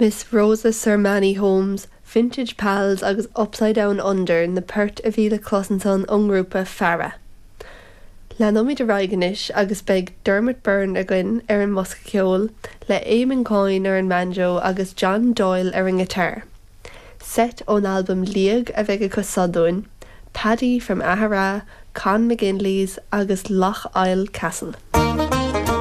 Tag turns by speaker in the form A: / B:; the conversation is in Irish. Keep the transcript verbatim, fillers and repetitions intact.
A: Miss Rosa Sermanni Holmes, Vintage Pals agus Upside Down Under na poirt a bhí le clos ansan ón ngrúpa Fara. Leanfaimid ar aghaidh anois agus beidh Dermot Byrne againn ar an mbosca ceoil le Eamon Coyne ar an mbanjo agus John Doyle ar an ngiotár. Seit ón albam Liag a bheidh acu seo dúinn, Paddy from Aghara, Con McGinley's agus Loch Isle Castle.